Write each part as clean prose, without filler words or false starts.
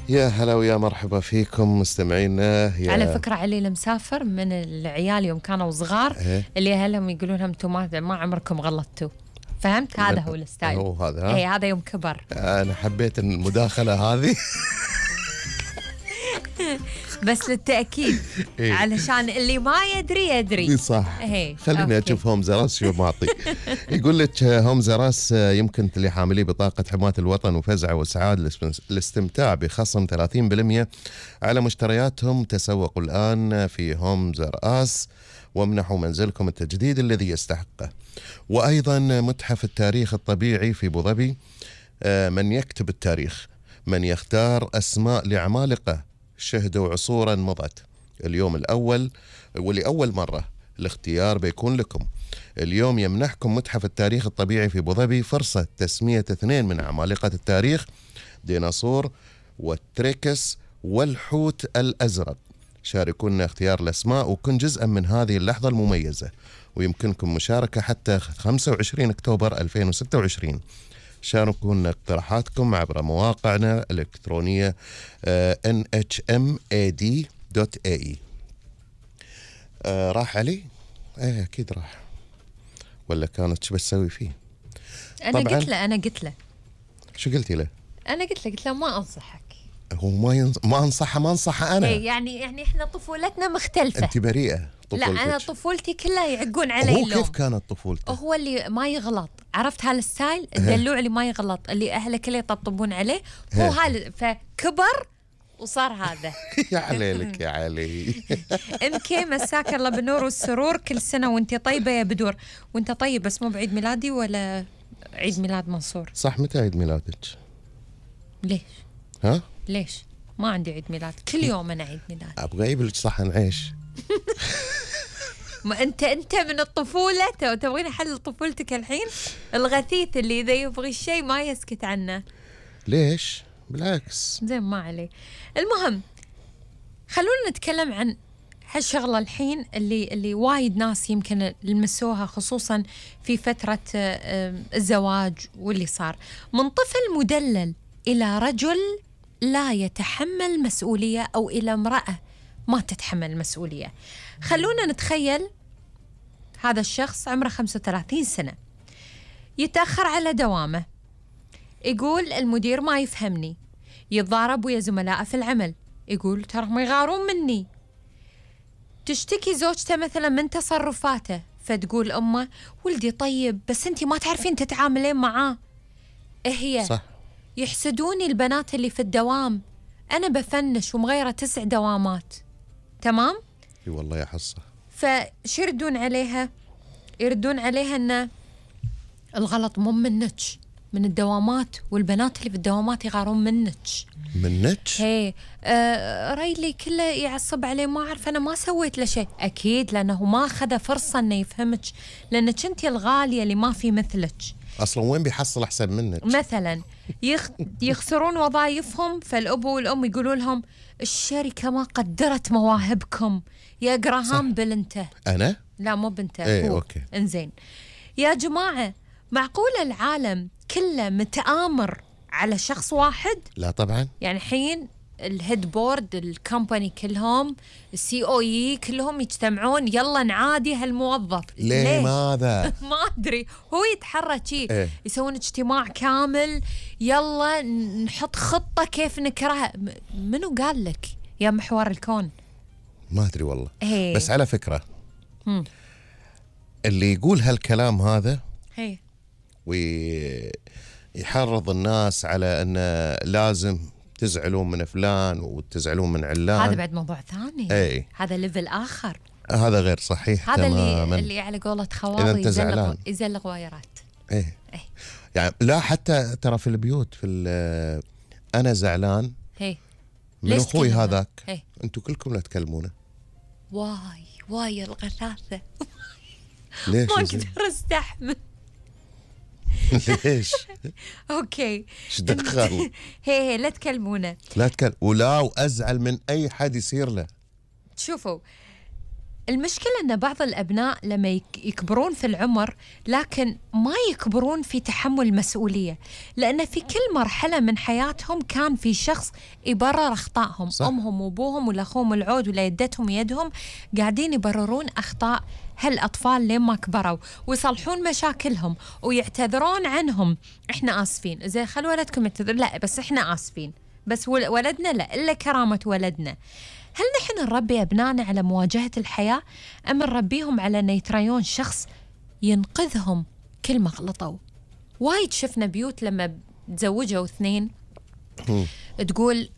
يا هلا ويا مرحبا فيكم مستمعينا. على فكرة علي المسافر من العيال يوم كانوا صغار اللي أهلهم يقولون لهم انتم ما عمركم غلطتوا، فهمت؟ هذا هو الستايل. هو هذا. اي هذا يوم كبر. أنا حبيت المداخلة هذه بس للتأكيد علشان اللي ما يدري صح. خليني أشوف هومز راس شو معطي. يقول لك هومز راس يمكن لحاملي بطاقة حماية الوطن وفزع وسعاد الاستمتاع بخصم 30% على مشترياتهم. تسوقوا الآن في هومز راس وامنحوا منزلكم التجديد الذي يستحقه. وأيضا متحف التاريخ الطبيعي في أبو ظبي، من يكتب التاريخ، من يختار أسماء لعمالقة شهدوا عصورا مضت. اليوم الأول ولأول مرة الاختيار بيكون لكم. اليوم يمنحكم متحف التاريخ الطبيعي في أبو ظبي فرصة تسمية 2 من عمالقة التاريخ، ديناصور والتريكس والحوت الأزرق. شاركونا اختيار الأسماء وكن جزءا من هذه اللحظة المميزة، ويمكنكم مشاركة حتى 25 أكتوبر 2026. شاركونا اقتراحاتكم عبر مواقعنا الإلكترونية nhmad.ae. راح علي؟ أكيد راح، ولا كانت شو بتسوي فيه؟ أنا قلت له شو قلتي له؟ أنا قلت له ما أنصحك. هو ما أنصحه أنا. يعني إحنا طفولتنا مختلفة. أنت بريئة. لا أنا طفولتي كلها يعقون علي. هو كيف كانت طفولته؟ هو اللي ما يغلط، عرفت هالستايل الدلوع اللي ما يغلط، اللي أهله كله يطبطبون عليه، هو فكبر وصار هذا. يا عليك يا علي. MK مساك الله بالنور والسرور، كل سنة وانت طيبة يا بدور. وانت طيب، بس مو بعيد ميلادي ولا عيد ميلاد منصور؟ صح. متى عيد ميلادك؟ ليش؟ ها؟ ليش؟ ما عندي عيد ميلاد، كل يوم أنا عيد ميلاد. أبغى أجيب لك صحن عيش. ما أنت من الطفولة تبغين أحلل طفولتك الحين؟ الغثيث اللي إذا يبغي الشيء ما يسكت عنه. ليش؟ بالعكس. زين ما عليه. المهم خلونا نتكلم عن هالشغلة الحين اللي وايد ناس يمكن لمسوها، خصوصا في فترة الزواج واللي صار من طفل مدلل إلى رجل لا يتحمل مسؤولية، أو إلى امرأة ما تتحمل مسؤولية. خلونا نتخيل هذا الشخص عمره 35 سنة، يتأخر على دوامه، يقول المدير ما يفهمني، يتضارب ويا زملائه في العمل، يقول ترى يغارون مني. تشتكي زوجته مثلا من تصرفاته، فتقول أمه ولدي طيب بس أنتي ما تعرفين تتعاملين معاه. هي صح. يحسدوني البنات اللي في الدوام، أنا بفنش ومغيرة 9 دوامات. تمام؟ اي والله يا حصة. فشو يردون عليها؟ يردون عليها أن الغلط مو منك، من الدوامات، والبنات اللي في الدوامات يغارون منك. هي ريلي كله يعصب عليه، ما أعرف أنا ما سويت له شيء. أكيد لأنه ما أخذ فرصة أنه يفهمك، لأنك أنت الغالية اللي ما في مثلك. أصلا وين بيحصل أحسن منك؟ مثلا يخسرون وظائفهم، فالأب والأم يقولوا لهم الشركة ما قدرت مواهبكم يا جراهام بيل. أنت أنا؟ لا مو بنته. ايه أوكي. انزين يا جماعة، معقولة العالم كله متآمر على شخص واحد؟ لا طبعا. يعني حين الهيد بورد الكمباني كلهم، الCOE كلهم يجتمعون يلا نعادي هالموظف. ليه ماذا؟ ما أدري، هو يتحرك يسوون اجتماع كامل، يلا نحط خطة كيف نكرهها. منو قال لك يا محور الكون؟ ما أدري والله. بس على فكرة اللي يقول هالكلام هذا ويحرض الناس على أن لازم تزعلون من فلان وتزعلون من علان، هذا بعد موضوع ثاني. هذا ليفل آخر، هذا غير صحيح. هذا اللي على قولة خواض يزلق وايرات. يعني لا، حتى ترى في البيوت أنا زعلان من أخوي هذاك، أنتوا كلكم لا تكلمونه. واي الغثاثة. ليش؟ ما أقدر استحمل. ليش؟ اوكي ايش دخل؟ هي لا تكلمونه، وازعل من اي حد يصير له. شوفوا المشكلة أن بعض الأبناء لما يكبرون في العمر لكن ما يكبرون في تحمل المسؤولية، لأن في كل مرحلة من حياتهم كان في شخص يبرر أخطائهم. صح. أمهم وأبوهم ولا أخوهم العود ولا يدتهم ويدهم قاعدين يبررون أخطاء هالأطفال لين ما كبروا ويصلحون مشاكلهم ويعتذرون عنهم. إحنا آسفين، زي خلوا ولدكم يعتذر، لا بس إحنا آسفين، بس ولدنا لا، إلا كرامة ولدنا. هل نحن نربي أبنائنا على مواجهة الحياة أم نربيهم على أن يتريون شخص ينقذهم كل ما غلطوا؟ وايد شفنا بيوت لما تزوجوا اثنين تقول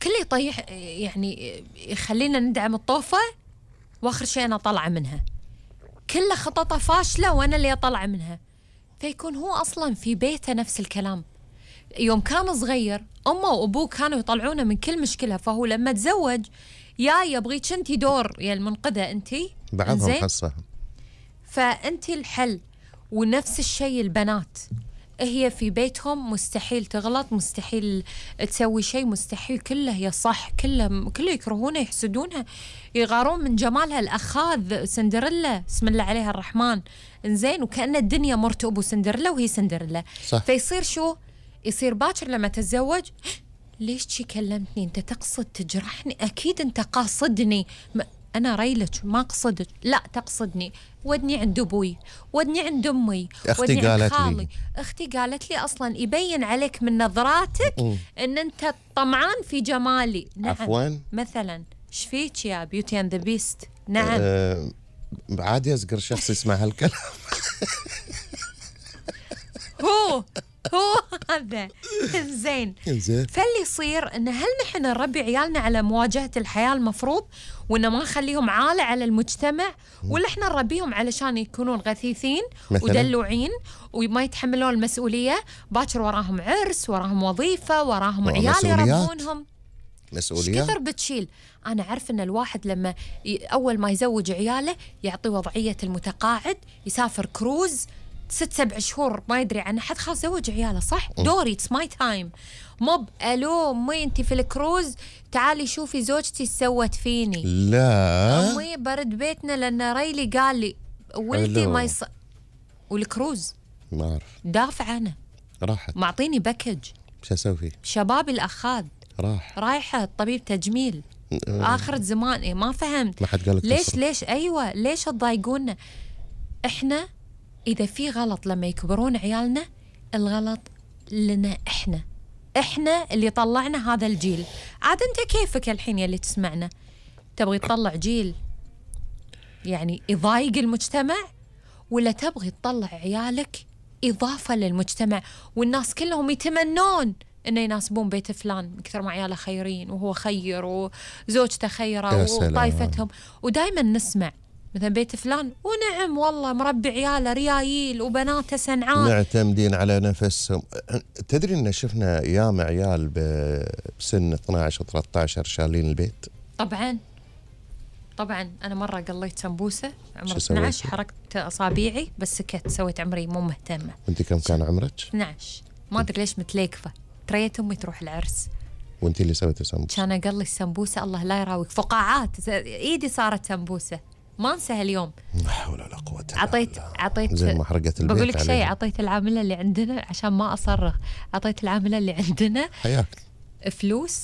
كل يطيح، يعني يخلينا ندعم الطوفة وآخر شيء أنا طالعة منها، كل خططة فاشلة وأنا اللي أطلع منها. فيكون هو أصلا في بيته نفس الكلام. يوم كان صغير أمه وأبوه كانوا يطلعونه من كل مشكلة، فهو لما تزوج يبغيك أنتي دور يا المنقذة أنتي بعضهم حصة، فأنتي الحل. ونفس الشيء البنات، هي في بيتهم مستحيل تغلط، مستحيل تسوي شيء، مستحيل، كله هي صح، كله يكرهونها، يحسدونها، يغارون من جمالها. الأخاذ سندريلا بسم الله عليها الرحمن، إنزين، وكأن الدنيا مرت أبو سندريلا وهي سندريلا. صح. فيصير شو؟ يصير باكر لما تتزوج، ليش شي كلمتني؟ أنت تقصد تجرحني؟ أكيد أنت قاصدني. أنا ريلك ما أقصدك، لا تقصدني. ودني عند أبوي، ودني عند أمي، ودني عند خالي، أختي قالت لي. أصلا يبين عليك من نظراتك أن أنت طمعان في جمالي. نعم. عفوا مثلا إيش فيك يا بيوتي أند ذا بيست؟ نعم. عادي أصغر شخص يسمع هالكلام. هو هذا زين. فاللي يصير إن هل نحن نربي عيالنا على مواجهة الحياة المفروض، وإن ما نخليهم عالة على المجتمع، ولا إحنا نربيهم علشان يكونون غثيثين ودلوعين وما يتحملون المسؤولية؟ باكر وراهم عرس، وراهم وظيفة، وراهم عيال يربونهم، مسؤوليات كثر بتشيل. أنا عارف إن الواحد لما أول ما يزوج عياله يعطي وضعية المتقاعد، يسافر كروز 6-7 شهور ما يدري عن أحد، خلاص زوج عياله. صح، دوري، it's my time. موب ألو أمي أنتي في الكروز، تعالي شوفي زوجتي سوت فيني. لا أمي برد بيتنا لأن ريلي قال لي ولدي ما والكروز ما أعرف، دافع أنا، راحت معطيني باكج، شو أسوي فيه؟ شبابي الأخاذ رايحة طبيب تجميل آخر زمان. ما فهمت، ما حد قالك ليش أيوة ليش تضايقونا؟ إحنا إذا في غلط لما يكبرون عيالنا، الغلط لنا إحنا اللي طلعنا هذا الجيل. عاد أنت كيفك الحين يلي تسمعنا، تبغي تطلع جيل يعني يضايق المجتمع، ولا تبغي تطلع عيالك إضافة للمجتمع والناس كلهم يتمنون إنه يناسبون بيت فلان من كثر ما عياله خيرين وهو خير وزوجته خيرة وطايفتهم؟ ودايما نسمع مثلا بيت فلان ونعم والله مربي عياله ريايل وبناته سنعان، معتمدين على نفسهم. تدري إن شفنا ياما عيال بسن 12 و13 شالين البيت؟ طبعا أنا مرة قليت سمبوسة عمر 12، حركت أصابيعي بس سكت، سويت عمري مو مهتمة. وأنت كم كان عمرك؟ 12. ما أدري ليش متليكفة، تريت أمي تروح العرس. وأنت اللي سويتي سمبوسة؟ كان أقلي السمبوسة الله لا يراويك، فقاعات إيدي صارت سمبوسة، ما انسى اليوم. لا حول ولا قوة الا بالله. عطيت زي ما حرقت البيت. بقول لك شيء، عطيت العاملة اللي عندنا عشان ما أصرخ، عطيت العاملة اللي عندنا حياك فلوس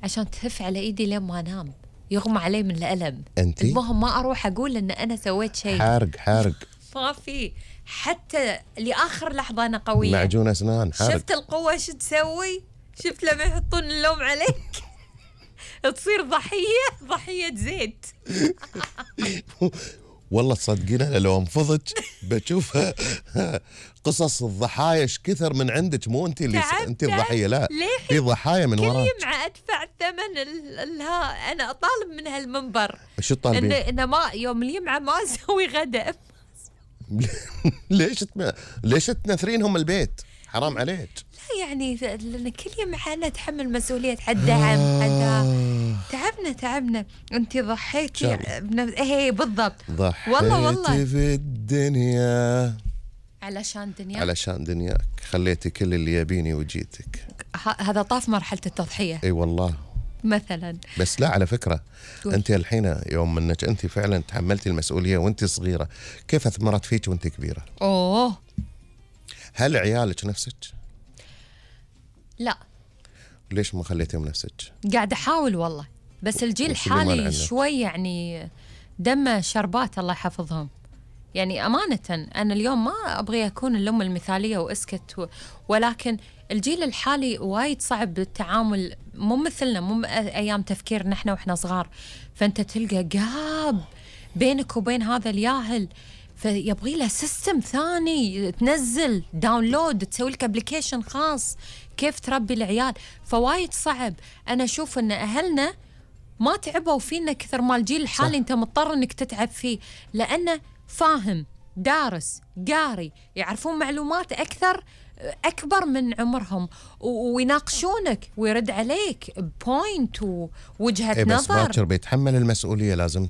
عشان تهف على إيدي لين ما أنام، يغمى علي من الألم. أنتي؟ المهم ما أروح أقول إن أنا سويت شيء. حارق ما في، حتى لآخر لحظة أنا قوية. معجون أسنان حارق. شفت القوة شو تسوي؟ شفت لما يحطون اللوم عليك تصير ضحية زيت. والله تصدقين لو انفضت بشوفها قصص الضحايا كثر من عندك، مو انت اللي انت الضحيه، لا في ضحايا من وراك. كل يوم ادفع ثمن انا اطالب من هالمنبر. شو تطالبين؟ انه ما يوم الجمعه ما اسوي غداء. ليش تنثرينهم البيت؟ حرام عليك. لا يعني لان كل يوم انا اتحمل مسؤوليه الدعم، تعبنا. انت ضحيتي ايه بالضبط. ضحيتي في الدنيا علشان دنياك، خليتي كل اللي يبيني وجيتك. هذا طاف مرحله التضحيه. اي والله. مثلا. بس لا، على فكرة أنت الحين يوم أنك أنت فعلا تحملتي المسؤولية وأنت صغيرة، كيف أثمرت فيك وأنت كبيرة؟ هل عيالك نفسك؟ لا. ليش ما خليتيهم نفسك؟ قاعد أحاول والله، بس الجيل الحالي شوي يعني دم شربات الله يحفظهم. يعني أمانة أنا اليوم ما أبغي أكون الأم المثالية وأسكت ولكن الجيل الحالي وايد صعب بالتعامل، مو مثلنا، مو أيام تفكير نحن وإحنا صغار. فأنت تلقى جاب بينك وبين هذا الياهل، فيبغي له سيستم ثاني، تنزل داونلود، تسوي لك ابلكيشن خاص كيف تربي العيال. فوايد صعب. أنا أشوف أن أهلنا ما تعبوا فينا كثر ما الجيل الحالي أنت مضطر أنك تتعب فيه، لأنه فاهم، دارس، قاري، يعرفون معلومات أكبر من عمرهم، ويناقشونك ويرد عليك بوينت ووجهة نظر. بس باكر بيتحمل المسؤولية، لازم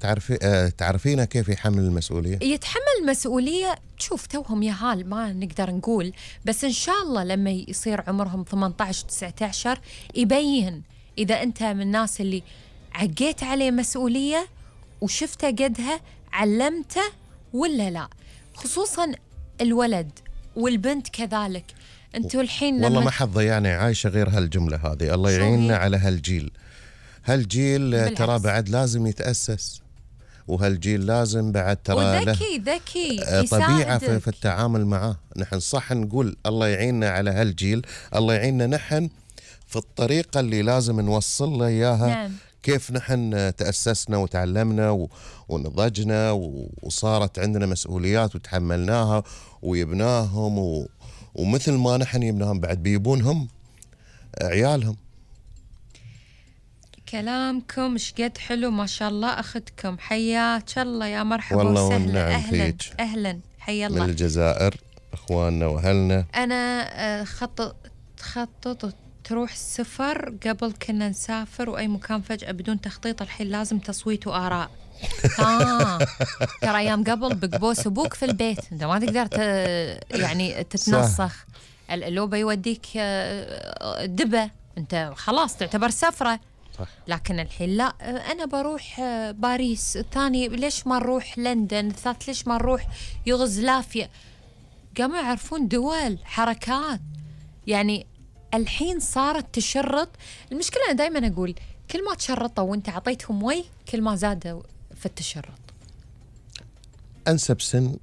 تعرفينه كيف يحمل المسؤولية. يتحمل المسؤولية. شوف توهم يهال ما نقدر نقول، بس إن شاء الله لما يصير عمرهم 18-19 يبين إذا أنت من الناس اللي عقيت عليه مسؤولية وشفته قدها علمته ولا لا. خصوصا الولد والبنت كذلك. انتوا الحين والله ما حد ضيعني عايشة غير هالجملة هذه. الله يعيننا على هالجيل ترى بعد لازم يتأسس، وهالجيل لازم بعد ترى ذكي طبيعة في التعامل معه. نحن صح نقول الله يعيننا على هالجيل، الله يعيننا نحن في الطريقة اللي لازم نوصل له إياها. نعم. كيف نحن تأسسنا وتعلمنا ونضجنا وصارت عندنا مسؤوليات وتحملناها ويبناهم، ومثل ما نحن يبناهم بعد بيبونهم عيالهم. كلامكم شقد حلو ما شاء الله. أخذكم حياك الله، يا مرحبا وسهلا. أهلا حيا الله. من الجزائر أخواننا وأهلنا. أنا خطط تروح السفر، قبل كنا نسافر وأي مكان فجأة بدون تخطيط، الحين لازم تصويت وآراء. ترى أيام قبل بقبوس أبوك في البيت، أنت ما تقدر يعني تتنسخ. لو بيوديك دبة أنت خلاص تعتبر سفرة. صح. لكن الحين لا، أنا بروح باريس، الثاني ليش ما نروح لندن، الثالث ليش ما نروح يوغوسلافيا. قاموا يعرفون دول، حركات. يعني الحين صارت تشرط. المشكلة أنا دايما أقول كل ما تشرطوا وانت عطيتهم وي كل ما زادوا في التشرط. أنسب سن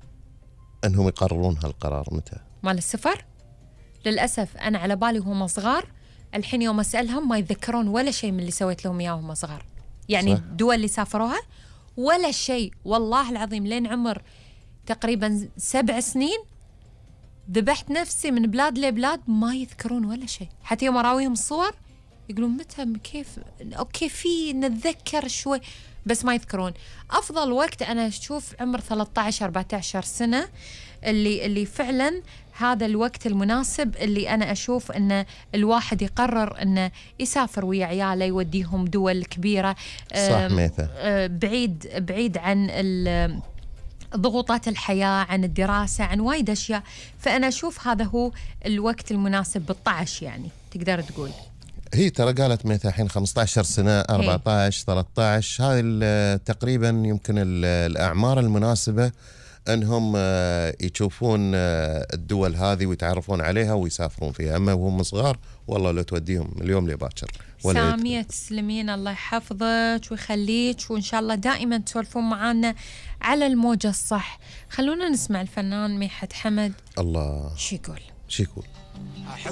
أنهم يقررون هالقرار متى؟ مال السفر. للأسف أنا على بالي وهم صغار، الحين يوم أسألهم ما يتذكرون ولا شيء من اللي سويت لهم إياه وهم صغار. يعني صح. الدول اللي سافروها ولا شيء، والله العظيم لين عمر تقريبا 7 سنين ذبحت نفسي من بلاد لبلاد ما يذكرون ولا شيء. حتى يوم أراويهم الصور يقولون متى كيف أوكي في نتذكر شوي بس ما يذكرون. أفضل وقت أنا أشوف عمر 13-14 سنة، اللي فعلا هذا الوقت المناسب اللي أنا أشوف أن الواحد يقرر أنه يسافر ويا عياله، يوديهم دول كبيرة. صح ميثا. بعيد عن ضغوطات الحياة، عن الدراسة، عن وايد أشياء. فأنا أشوف هذا هو الوقت المناسب 12 يعني تقدر تقول. هي ترى قالت ميثا الحين 15 سنة 14-13 هذه تقريبا يمكن الأعمار المناسبة أنهم يشوفون الدول هذه ويتعرفون عليها ويسافرون فيها. أما وهم صغار والله لو توديهم اليوم لباكر. سامية تسلمين الله يحفظك ويخليك، وإن شاء الله دائما تسولفون معانا على الموجة الصح. خلونا نسمع الفنان ميحت حمد. الله شو يقول.